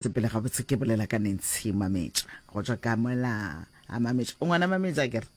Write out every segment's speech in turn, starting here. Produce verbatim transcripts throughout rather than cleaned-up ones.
Sepele gabotse ke bolela ka Nancy Mametša go tšwa ka mola a Mametša. O ngwana Mametša ke re?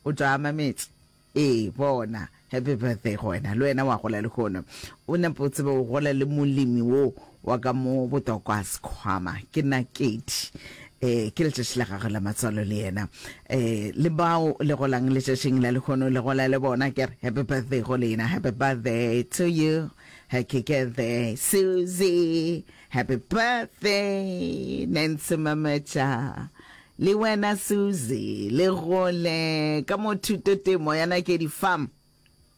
O tšwa a Mametša. Ee, bona. Happy birthday go wena. Le wena wa gola lehono. O nepo o tsebe o gola le molemi wo wa ka mo Botokwa Sekhwama. Ke Nakedi. Eh, ke letšatši la gagwe la matswalo le yena. Eh, le bao le golang letšatšing la lehono le gola le bona ke re happy birthday go lena. Happy birthday to you. Happy birthday Susie. Happy birthday Nancy Mametša. Le wena Susie le gole ka mo thuto temo ya Nakedi Farm.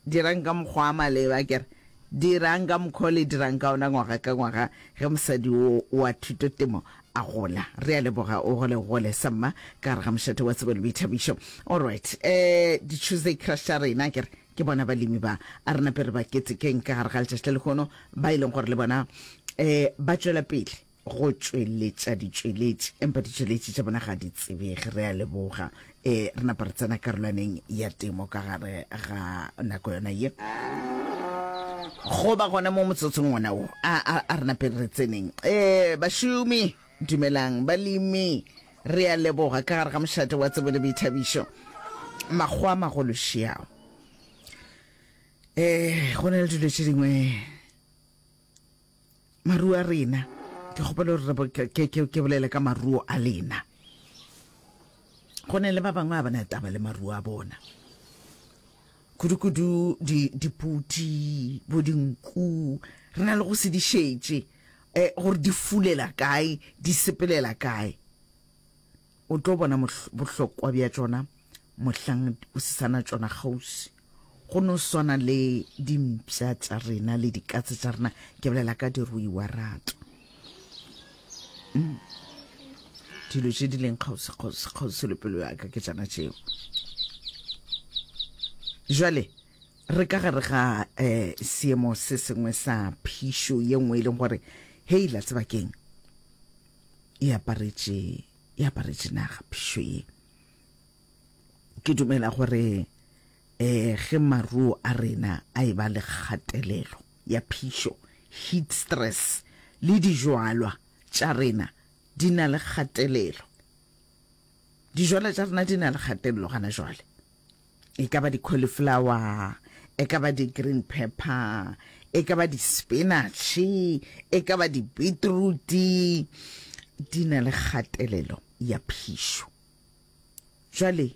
Dirang ka mokgwa wa maleba ke re dirang ka mokgwa o le dirang ka ona ngwaga ka ngwaga ge mosadi wo wa thuto temo a gola. Re a leboga o gole gole samma ka gare ga mošate wa tsebo le boithabišo. Alright, eh di Tuesday crush tša rena ke re ke bona balemi ba a re nape re ba ketekeng ka gare ga letšatši la lehono ba e leng gore le bona um ba tšwela pele go tšweletša ditšweletši empa ditšweletši tša bona ga di tsebege. Re a leboga. Um re napa re tsena karolwaneng ya temo ka gare ga nako yona ye go ba gona mo motsotsong wona wo a, a, a re nape re tseneng. Um bašomi dumelang, balemi re a leboga ka gare ga mošate wa tsebo le boithabišo. Makgowa a magolo šiao. Eh, go na le dilo tše dingwe maruo a rena ke kgopela gore ke, ke, ke bolele ka maruo a lena. Go na le ba bangwe a bana taba le maruo a bona, kudu-kudu di dipudi bo dinku re na le go se di šetše eh, gore di fulela kae di sepelela kae. O tlo bona bohlokwa bja tšona mohlang o se sana tšona kgauswi. Go no swana le dimpša tša rena le dikatse tša rena, ke bolela ka diruiwa rato. Mm. Dilo tše di leng kgauswi kgauswi kgauswi le pelo ya ka ke tšana tšeo. Jwale re ka gare ga eh, seemo se sengwe sa phišo ye nngwe e leng gore hei la tseba keng e aparetše e aparetše naga phišo ye. Ke dumela gore eh ge maruo a rena a e ba le kgatelelo ya phišo, heat stress, le dijwalwa tša rena di na le kgatelelo. Dijwalwa tša rena di na le kgatelelo gana jwale. E ka ba di-cauliflower, e ka ba di-green pepper, e ka ba di-spinach, e ka ba di-beetroot, di na le kgatelelo ya phišo. Jwale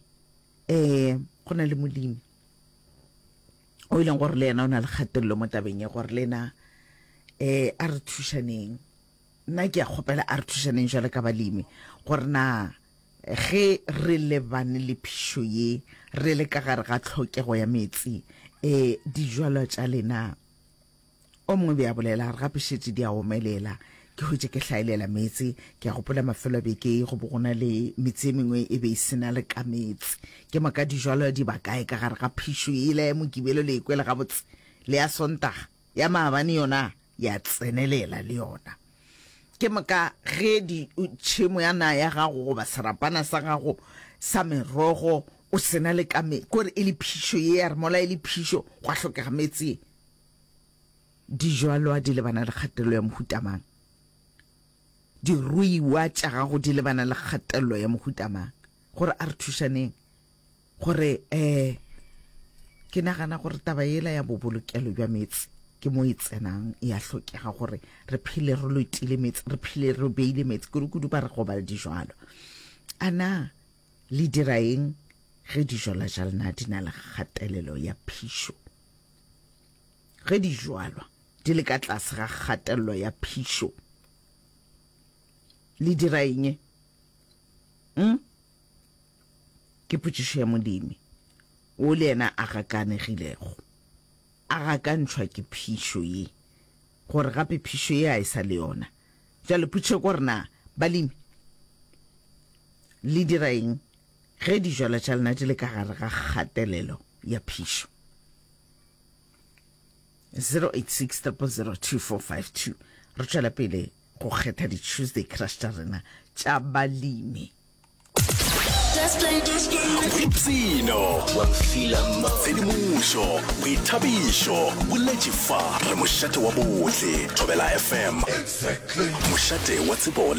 eh go na le molemi o e leng gore le yena o na le kgatelelo mo tabeng ya gore le ena eh a re thušaneng. Nna ke a kgopela a re thušaneng jwale ka balemi gore na ge re lebane le phišo ye re le ka gare ga tlhokego ya meetse eh dijwalo tša lena o mongwe be a bolela re gape šetše di a omelela ke hwetše ke hlaelela meetse. Ke a gopola mafelo a beke go bo go na le metse e mengwe e be e sena le ka meetse. Ke moka dijwalo di ba kae ka gare ga phišo yela ya Mokibelo le ekwele gabotse le ya Sontaga ya maabane yona ya tsenelela le yona. Ke moka ge di tšhemo ya na ya gago goba serapana sa gago sa merogo o sena le ka me kore e le phišo ye ya re mola e le phišo gwa hlokega meetse. Dijwalwa di lebana le kgatelelo ya mohuta mang? Diruiwa tša gago di lebana le kgatelelo ya mohuta mang? Gore a re thušaneng gore eh ke nagana gore taba yela ya bobolokelo bja meetse ke mo e tsenang e a hlokega gore re phele re lotile meetse, re phele re beile meetse kudu-kudu ba re go ba le dijwalo. A na le dira eng ge dijwalwa tša lena di na le kgatelelo ya phišo? Ge dijwalwa di le ka tlase ga kgatelelo ya phišo, le dira eng? Mm? Ke potšišo ya molemi wo le yena a gakanegilego, a gakantšhwa ke phišo ye, gore gape phišo ye a e sa le yona. Bjale potšišo ke gore na balemi le dira eng ge dijwalwa tša lena di le ka gare ga kgatelelo ya phišo? zero eight six triple zero two four five two. Re tšwela pele go kgetha di-Tuesday crush tša rena tša balemi. Boipshino, tshedimošo, boithabišo, boletše fa re mošate wa bohle. Thobela F M, mošate wa tsebo.